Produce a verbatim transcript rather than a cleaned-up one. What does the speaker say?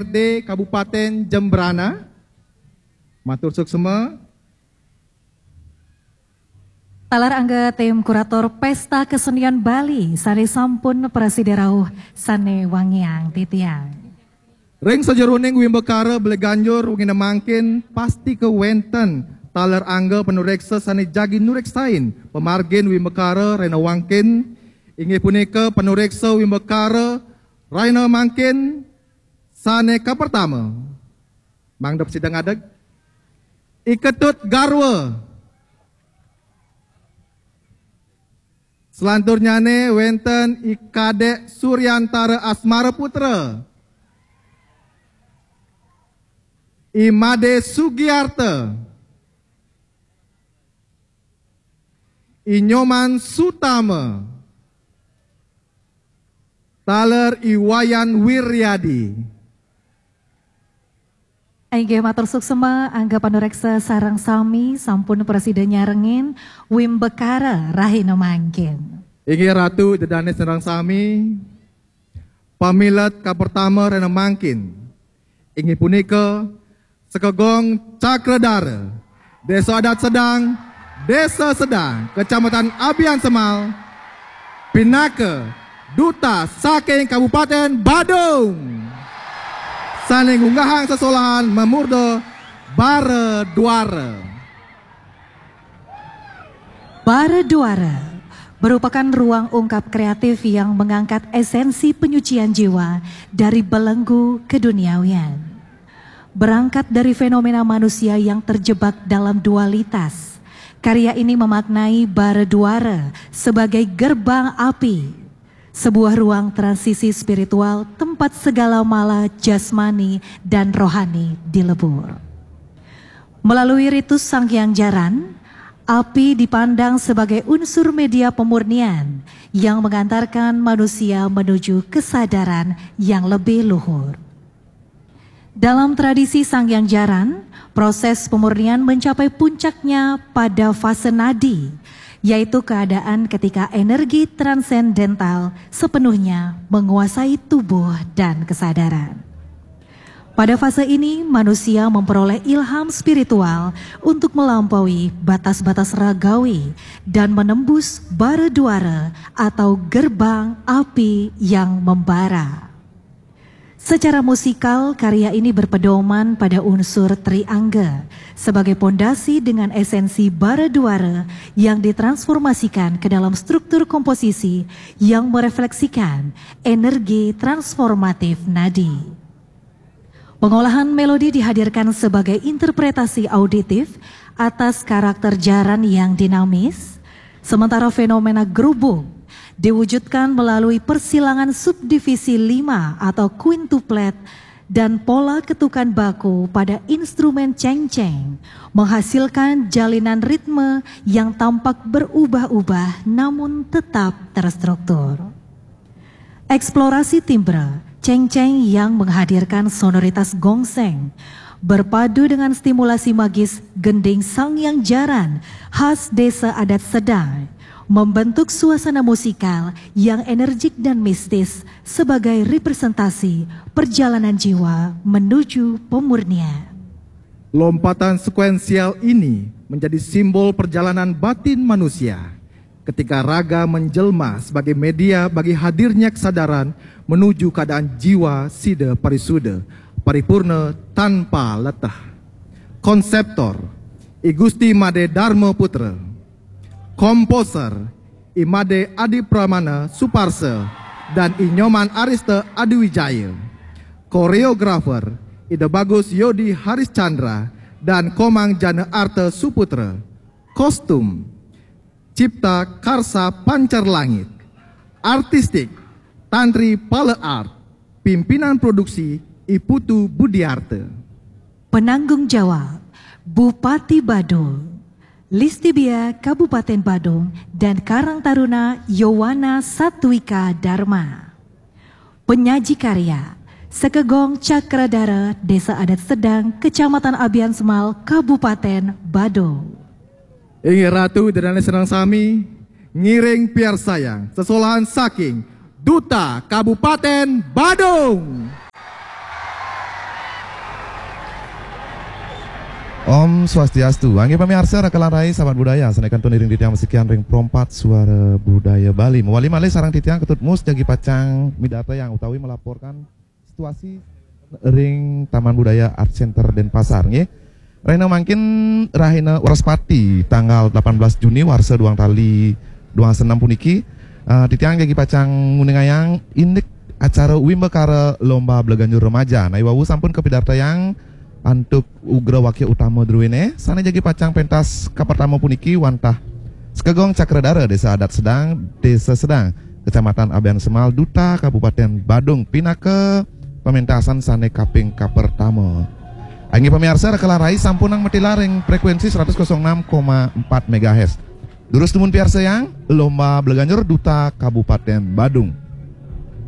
D Kabupaten Jembrana. Matur suksma. Taler angga tim kurator Pesta Kesenian Bali sane sampun prasida rauh sane wangiang titiang. Ring sajeroning wimbakara beli ganjur wengine mangkin pasti kewenten taler angga panureksa sane jagi nureksain pamargin wimbakara rena wangkin, inggih punika panureksa wimbakara rena mangkin sane kapertama. Mangda sida ngadeg. I Ketut Garwa. Selanturnyane wenten I Kadek Suryantara Asmara Putra, I Made Sugiarta, I Nyoman Sutama, taler I Wayan Wiryadi. Inggih matur suksma angga panureksa sareng sami sampun prasida nyarengin wimbakara rahina mangkin. Inggih Ratu, Ida Dane sareng sami. Pamilet kapertama rena mangkin inggih punika Sekegong Cakradara, Desa Adat Sedang, Desa Sedang, Kecamatan Abian Semal, pinaka duta saking Kabupaten Badung sane ngunggahang sesolahan mamurda Bara Duara. Bara Duara merupakan ruang ungkap kreatif yang mengangkat esensi penyucian jiwa dari belenggu keduniawian. Berangkat dari fenomena manusia yang terjebak dalam dualitas, karya ini memaknai Bara Duara sebagai gerbang api, sebuah ruang transisi spiritual tempat segala mala jasmani dan rohani dilebur. Melalui ritus Sanghyang Jaran, api dipandang sebagai unsur media pemurnian yang mengantarkan manusia menuju kesadaran yang lebih luhur. Dalam tradisi Sanghyang Jaran, proses pemurnian mencapai puncaknya pada fase nadi, yaitu keadaan ketika energi transendental sepenuhnya menguasai tubuh dan kesadaran. Pada fase ini, manusia memperoleh ilham spiritual untuk melampaui batas-batas ragawi dan menembus bara duara atau gerbang api yang membara. Secara musikal, karya ini berpedoman pada unsur triangga sebagai pondasi dengan esensi bara duara yang ditransformasikan ke dalam struktur komposisi yang merefleksikan energi transformatif nadi. Pengolahan melodi dihadirkan sebagai interpretasi auditif atas karakter jaran yang dinamis, sementara fenomena grubung diwujudkan melalui persilangan subdivisi lima atau quintuplet dan pola ketukan baku pada instrumen cengceng menghasilkan jalinan ritme yang tampak berubah-ubah namun tetap terstruktur. Eksplorasi timbre cengceng yang menghadirkan sonoritas gongseng berpadu dengan stimulasi magis gending Sanghyang Jaran khas Desa Adat Sedang membentuk suasana musikal yang energik dan mistis sebagai representasi perjalanan jiwa menuju pemurnian. Lompatan sekuensial ini menjadi simbol perjalanan batin manusia ketika raga menjelma sebagai media bagi hadirnya kesadaran menuju keadaan jiwa sida parisuda, paripurna tanpa letah. Konseptor, I Gusti Made Dharma Putra. Komposer, I Made Adi Pramana Suparsa dan I Nyoman Arista Adi Wijaya. Koreografer, Ida Bagus Yodi Haris Chandra dan Komang Jana Arta Suputra. Kostum, Cipta Karsa Pancar Langit. Artistik, Tantri Pala Art. Pimpinan produksi, I Putu Budiarta. Penanggung jawab, Bupati Badung, Listibia Kabupaten Badung, dan Karang Taruna Yowana Satwika Dharma. Penyaji karya, Sekegong Cakradara, Desa Adat Sedang, Kecamatan Abian Semal, Kabupaten Badung. Inggih Ratu, Ida Dane sareng sami, ngiring piarsayang sesolahan saking Duta Kabupaten Badung. Om Swastiastu. Inggih pamiarsa, raka lan rai, sahabat budaya, sané kantun iring titiang masikian ring Pro empat Suara Budaya Bali. Mawali malih sareng titiang Ketut Mus jagi pacang midartayang utawi melaporkan situasi ring Taman Budaya Art Center Denpasar, nggih. Rahina mangkin rahina Wrespati, tanggal delapan belas Juni warsa duang tali duang senem puniki, eh, titiang jagi pacang nguningayang indik acara Wimbakara Lomba Bleganjur Remaja. Nah, iwau sampun kapidartayang antuk ugra wakya utama druéné, sané jagi pacang pentas kapertama puniki wantah Sekegong Cakradara, Désa Adat Sedang, Désa Sedang, Kecamatan Abiansemal, Duta Kabupaten Badung, pinaka pamentasan sané kaping kapertama. Inggih pamiarsa, raka lan rai, sampunang matilar ring frekuensi seratus kosong enam koma empat megahertz. Durus dumun piarsayang Lomba Bleganjur, Duta Kabupaten Badung.